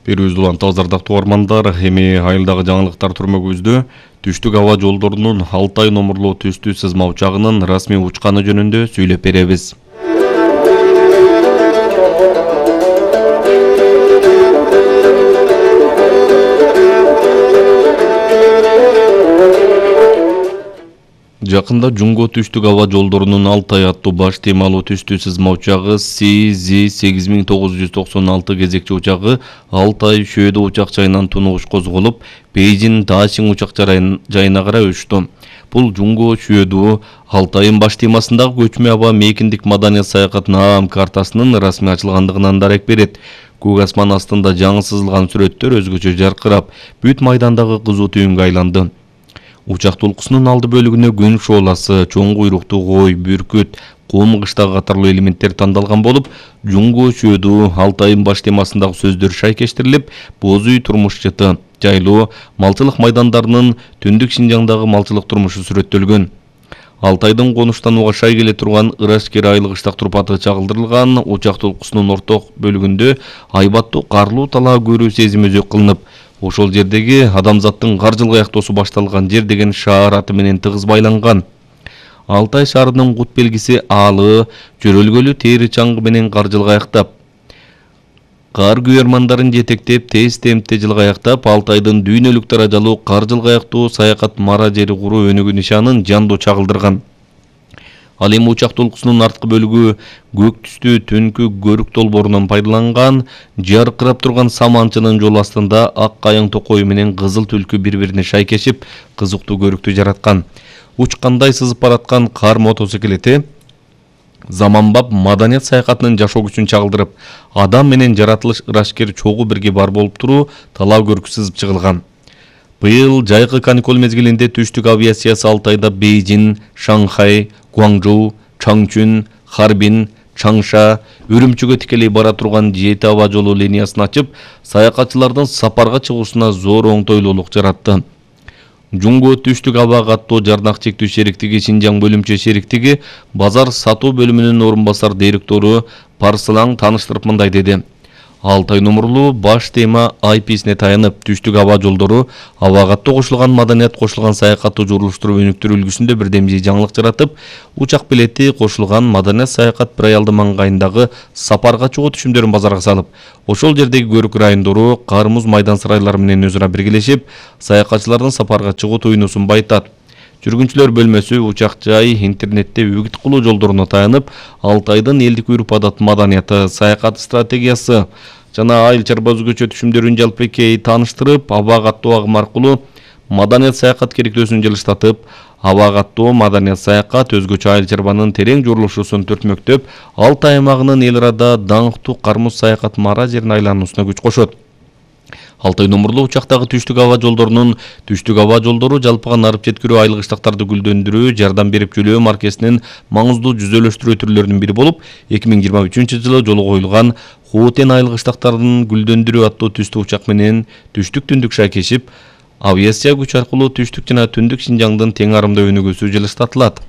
Берүүбүздү улан тазардактуу угармандар, эми айылдагы жаңылыктар түрмөгүбүздө түштүк аба жолдорунун Алтай номурлуу түстүү сызма учагынын расмий учканы жөнүндө сүйлөп беребиз. Жакында Жунго түштүк аба жолдорунун Алтай аттуу баш темалуу түстүү сызма учагы CZ-8996 кезекчи учагы Алтай Шөөдө учак жайынан тунугуш козголуп, Бейжин Дашин учак жайына карай учту. Бул Жунго Шөөдө Алтайын баш темасындагы көчмө аба мейкиндик маданият саякатынын аам картасынын расмий ачылгандыгынан дарек берет. Көк асман астында жаңы сызылган сүрөттөр өзгөчө жаркырап, бүт майдандагы кызуу түйүнгө айланды. Учак толкусунун алды бөлүгүнө күн шооласы, чоң куйруктуу кой, бүркүт, кум кыштагы катарлуу элементтер тандалган болуп, Жунго Шөөдө Алтайын баш темасындагы сөздөр шайкештирилип, боз үй турмуш жыты, жайлуу, малчылык майдандарынын түндүк Шинжаңдагы малчылык турмушу сүрөттөлгөн. Алтайдын конуштанууга шай келе турган Ырашкер айыл кыштак турпаты чагылдырылган, учак толкусунун орток бөлүгүндө айбаттуу карлуу талаа көрүү сезими өзөк кылынып, ошол жердеги адамзаттын каржыл каяктоосу башталган жер деген шаар аты менен тыгыз байланган. Алтай шаарынын кут белгиси аалы, жөрөлгөлү тери чаңгы менен каржыл каяктап, кар күйөрмандарын жетектеп, тез темпте жылгаяктап, Алтайдын дүйнөлүк даражалуу каржыл каяктуу саякат мара жери куруу өнүгүү нишанын жандуу чагылдырган. Ал эми учак толкусунун арткы бөлүгү көк түстүү түнкү көрүк долбоорунан пайдаланган, жаркырап турган саманчынын жол астында ак кайың токою менен кызыл түлкү бири-бирине шайкешип, кызыктуу көрүктү жараткан. Учкандай сызып бараткан кар мотоциклети заманбап маданият саякатынын жашоо күчүн чагылдырып, адам менен жаратылыш ырашкер чогуу бирге бар болуп туруу талаа көркү сызып чыгылган. Быйыл жайкы каникул мезгилинде түштүк авиациясы Алтайда Бейжин, Шанхай, Гуаңжоу, Чаңчүн, Харбин, Чаңша, Үрүмчүгө тикелей бара турган 7 аба жолу линиясын ачып, саякатчылардын сапарга чыгуусуна зор оңтойлуулук жаратты. Жунго түштүк аба каттоо жарнак чектүү шериктиги Шинжаң бөлүмчө шериктиги базар сатуу бөлүмүнүн орун басар директору Парсылаң тааныштырып мындай деди. Алтай номурлуу баш тема айписине таянып, түштүк аба жолдору аба каттоо кошулган маданият кошулган саякатты журулуштуруп өнүктүрүү үлгүсүндө бирдемжий жаңылык жаратып, учак билети кошулган маданият саякат бир аялдын маңгайындагы сапарга чыгуу түшүмдөрүн базарга салып, ошол жердеги көрүк райондору кар-муз майдан сарайлары менен өзү ара биргелешип, саякатчылардын сапарга чыгуу туйнусун байытат. Жүргүнчүлөр бөлмөсү учак жай, интернетте үгүт кылуу жолдоруна таянып, Алтайдын элдик үрп-адат маданияты, саякат стратегиясы жана айыл чарба өзгөчө түшүмдөрүн жалпыкей тааныштырып, аба каттоо агымы аркылуу маданият саякат керектөөсүн жылыштатып, аба каттоо маданият саякат өзгөчө айыл чарбанын терең журулушусун төртмөктөп, Алтай аймагынын эл арада даңктуу кар-муз саякат мара жерин айлануусуна күч кошот. Алтай номурлуу учактагы түштүк аба жолдорунун түштүк аба жолдору жалпыга нарып жеткирүү айыл кыштактарды гүлдөндүрүү, жардам берип жүрүү маркесинин маңыздуу жүзөлөштүрүү түрлөрүнүн бири болуп, 2023-жылы жолу коюлган Хуутен айыл кыштактарын гүлдөндүрүү аттуу түстүү учак менен түштүк түндүк шайкешип, авиация күч аркылуу түштүк жана түндүк Шинжаңдын тең арымдуу өнүгүүсү жылыштатылат.